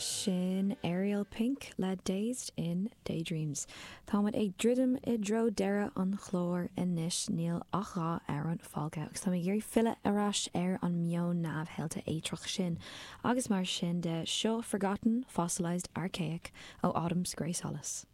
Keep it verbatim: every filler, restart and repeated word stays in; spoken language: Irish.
Sin Ariel Pink le Dazed in Daydreams. Táimid ag druidim i dtreo deireadh an chláir anois níl ach dhá amhrán fágtha agus tá mé ag iarraidh filleadh ar ais ar an meon neamhshaolta eitreach sin agus mar sin de seo Forgotten Fossilized Archaic ó Autumn's Grey Solace.